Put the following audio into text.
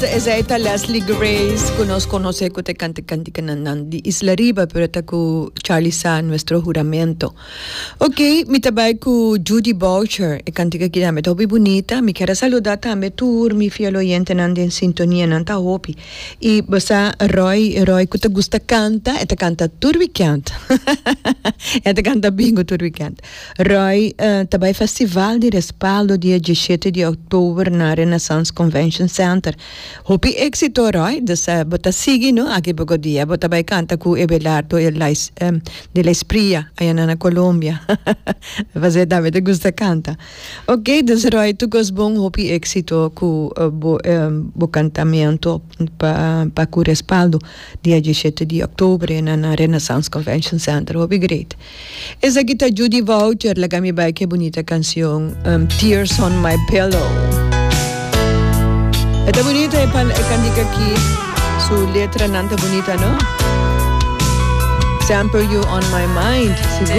Esei ta Leslie Grace ku nos konosé ku ta kanta kantikanan nan di Isla Riba pero ta ku Charlie Sa Nuestro Juramento. Ok, mi ta bai ku Judy Boucher, e kantika aki tambe ta hopi bunita. Mi kier a saluda tambe tur mi fiel oyentenan den sintonia, nan ta hopi. I bo sa Roy, Roy ku ta gusta kanta, e ta kanta tur wikènt. E ta kanta bingo tur wikènt. Roy ta bai festival di Respaldo dia dieshete di òktober na Renaissance Convention Center. Hopi éksito Roy, dus bo ta sigui no aki poko dia bo ta bai kanta ku Ebelardo de la Espriella ayanan na Colombia. Pasé tambe ta gusta kanta. Ok, dus Roy tur kos bon, hopi éksito ku bo bo kantamentu pa pa ku Respaldo dia dieshete di òktober na Renaissance Convention Center. Hopi great. Esaki ta Judy Voucher, laga mi bai ke bunita cancion Tears on my pillow. E ta bunita e pan e cantica aki, su letranan ta bunita no? Semper you on my mind, sigur.